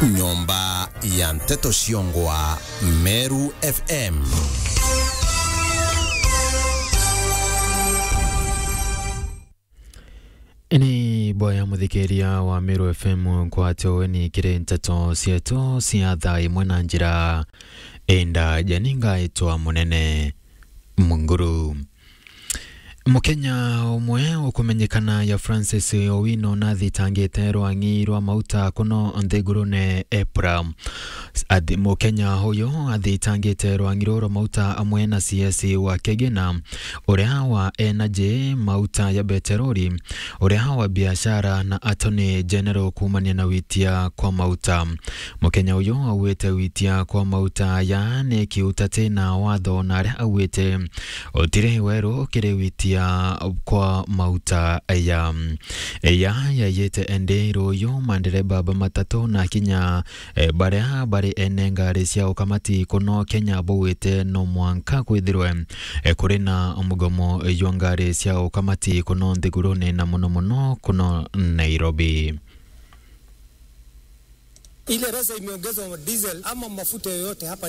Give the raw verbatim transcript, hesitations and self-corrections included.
Nyomba ya nteto ciongwa Meru F M. Ni boya muthikiria wa Meru F M nkwate weni kiri nteto cietu cia thaa imwe na njira enda jani ngaitwa Munene Munguru. Mukenya umwe ukumenyekana ya Francis Owino nathitangite rwang'i rwa mauta kuno nthigurune Epra. Athi-, Mukenya uyu athitangite rwang'i ruu rwa mauta amwe na C S wa Kegena, uria wa Energy, mauta ya beterori, uria wa biashara na Attorney General kuumania na witia kwa mauta. Mukenya uyu augite witia kwa mauta ya ni kiuta ti na watho, na aria augite utiri weru kiri witia kwa mauta ya, ya, yayite endi ruyu mandereba ba matatu na kinya, eh, baria bari ene ngari cia ukamati kuno Kenya baugite no mwanka kwithirwe, eh, kuri na mugomo jwa ngari cia ukamati kuno nthigurune na muno muno kuno Nairobi. Ile pesa imeongezwa diesel ama mafuta yoyote hapa